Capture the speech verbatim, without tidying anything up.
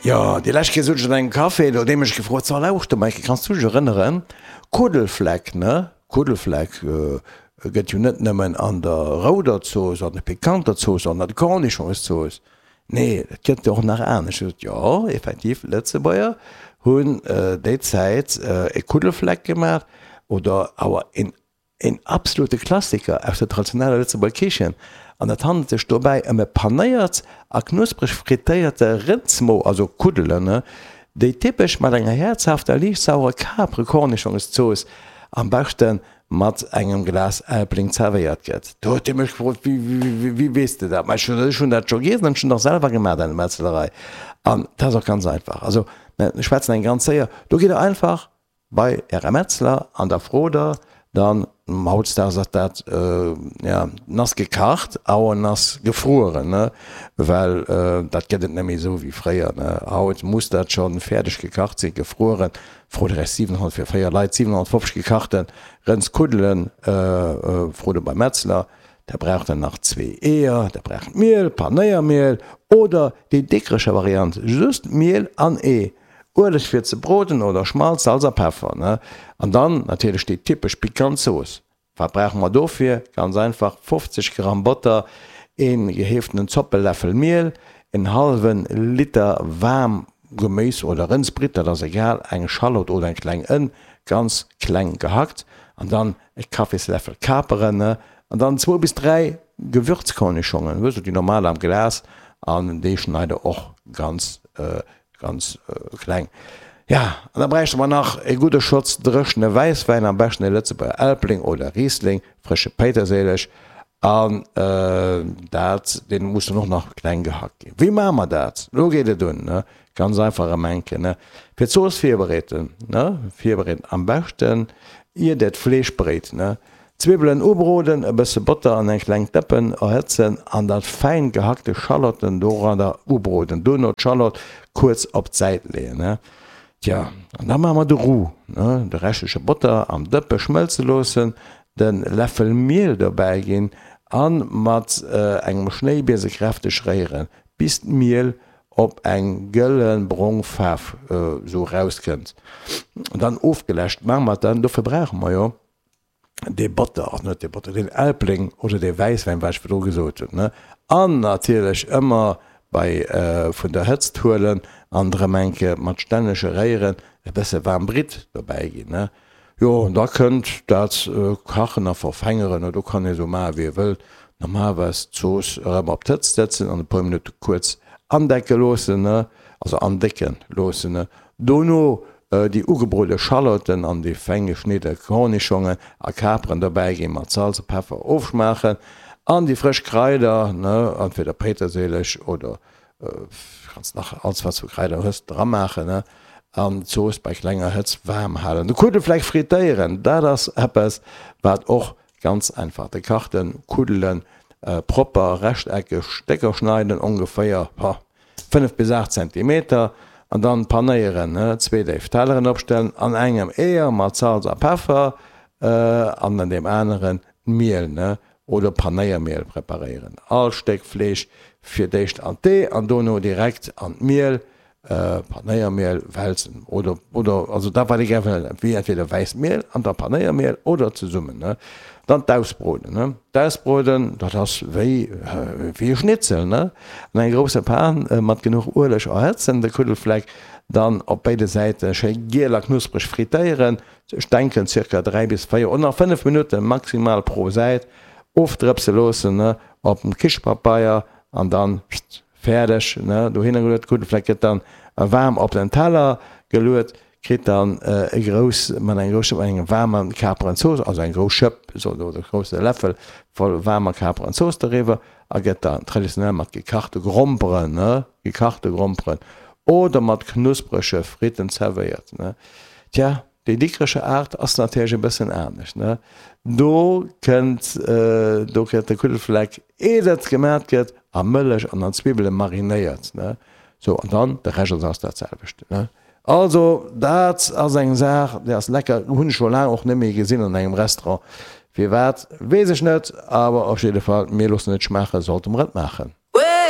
Jo, déi lescht Kéier sot ech an engem Café, do huet ee mech gefrot, So, lauschter Michael, kanns du dech erënneren, Kuddelfleck, ne? Kuddelfleck gëtt jo net nëmmen an der rouder Zooss, an der pikanter Zooss, an der Cornichonszooss. Nee, et gëtt jo och nach anescht. Ech sot, Jo, effektiv, Lëtzebuerger hunn déi Zäit e Kuddelfleck gemaach oder awer een Een absolute Klassiker aus der traditioneller Lëtzebuerger Kichen, an et handelt sech dobäi ëm e panéiert a knuspreg frittéierte Rëndsmo, also Kuddelen, déi typesch mat enger häerzhafter, liicht saurer Kapere-Kornischongszooss, am beschte mat engem Glas Elbling zerwéiert gëtt. Do huet hie mech gefrot, Wéi weess de dat? Ma ech hunn dat scho giess an ech hunn et och selwer gemaach an der Metzlerei. An dat ass och ganz einfach. Also, mä ech schwätzen eng ganz séier, do gitt der einfach bei Ärer Metzler an da frot der dann, hautdesdaags ass dat ja nass gekacht, awer nass gefrueren, ne, well dat gëtt et net méi esou wéi fréier, ne, haut muss dat scho fäerdeg gekacht sinn, gefrueren. Frot der Iech siwenhonnert fir véier Leit, siwenhonnertfofzeg gekachte Rëndskuddelen, frot der beim Metzler. Da braucht der nach zwee Eeër, der braucht Miel, Panéiermiel oder déi Dikrecher Variant, just Miel an Ee. Ueleg fir ze broden oder Schmalz, Salz a Peffer, ne? An dann natierlech déi typesch pikant Zooss. Wat brauche mer dofir? Ganz einfach, fofzeg Gramm Botter, een geheeftenen Zoppeläffel Miel, en hallwen Liter waarm Geméis oder Rëndsbritt, dat ass egal, eng Schallott oder eng kleng Ënn, ganz kleng gehackt, an dann e Kaffisläffel Kaperen, ne? An dann zwou bis dräi Gewürzkornischongen, wësst der, déi normal am Glas, an déi schneit der och ganz Ganz kleng. Ja, an da bräichte mer nach e gudde Schotz dréchene Wäisswäin, am beschten e Lëtzebuerger Elbling oder Riesling, frësche Péiterséileg an dat, dee muss dann och nach kleng gehackt ginn. Wéi maache mer dat? Elo geet et un, ne? Ganz einfach erëm eng Kéier, ne? Fir d'Zooss virbereeten, ne? Virbereeten, am beschten ier der d'Fleesch bréit, ne? D'Zwiwwelen ubroden, e bësse Botter an eng kleng Dëppen erhëtzen an dat fäin gehackte Schallotten doranner ubroden. Dono d'Schallott kuerz op d'Säit leeën. Tja, an da maache mer de Roux, de reschtleche Botter am Dëppe schmëlze loossen, de Läffel Miel dobäi ginn a mat engem Schnéibiese kräfteg réieren, bis d'Miel op eng gëlle brong Faarf esou erauskënnt. Dann ofgeläscht maache mer dann, dofir brauche mer jo dee Botter, also net dee Botter, deen Elbling oder dee Wäisswäin, wat ech virdru gesot hunn, ne, an natierlech ëmmer bei vun der Hëtzt huelen an drëm eng Kéier mat stännege Réieren e bësse waarm Britt dobäi ginn, ne. Jo, an da kënnt dat kachen a verfengeren, do kann ee sou maache wéi ee wëllt. Normalerweis d'Zooss erëm op d'Hëtzt sëtzen an e puer Minutte kuerz andecke loossen, ne, also andécke loossen, ne. Dono Déi ugebrode Schallotten an déi feng geschnidde Kornischongen a Kaperen dobäi ginn, mat Salz a Peffer ofschmaachen an déi frësch Kraider, entweder Péiterséileg oder kanns nach alles wat s vu Kraider hues dramaachen an d'Zooss bei klenger Hëtzt waarm halen. De Kuddelfleck frittéieren, dat ass eppes wat och ganz einfach, de kachte Kuddelen propper rechteckeg Stécker schneiden, ongeféier fënnef bis aacht Zentimeter, An dann panéieren, zwee déif Telleren opstellen, an engem Eeër mat Salz a Peffer an an deem aneren d'Miel oder Panéiermiel preparéieren. All Stéck Fleesch fir d'éischt an d'Ee an dono direkt an d'Miel, Panéiermiel, wälzen oder oder also dat wat ee gär wëll, wéi entweder wäisst Miel an da Panéiermiel oder zesummen. Dann d'Ausbroden, ne? D'Ausbroden, dat ass wéi wéi e Schnitzel, ne? An enger grousser Pan mat genuch Ueleg erhëtzen, de Kuddelfleck dann op béide Säite schéi giel a knuspreg frittéieren, ech denken circa dräi bis véier oder nach fënnef Minutte maximal pro Säit, ofdrëpse loossen, ne, op dem Kichepapeier an dann fäerdeg, ne, dohinner geluet. Kuddelfleck gëtt dann waarm op den Teller geluet. Kritt dann e grouss, mat engem grousse, mat engem waarme Kaperenzooss, also eng grouss Schëpp, soll oder e grousse Läffel voll waarmer Kaperenzooss doriwwer a gëtt dann traditionell mat gekachte Gromperen, ne, gekachte Gromperen oder mat knusprege Fritten zerwéiert, ne. Tja, déi Dikrecher Aart ass natierlech e bëssen anescht, ne. Do kënnt, do gëtt de Kuddelfleck, eer et gemat gëtt, a Mëllech an an Zwibbele marinéiert, ne. Sou, an dann de Rescht ass dat selwecht, ne. Also dat ass eng Saach, déi ass lecker, hunn ech scho laang och net méi gesinn an engem Restaurant. Firwat, weess ech net, awer op jidde Fall, mir loossen et schmaachen, sollte mer et maachen.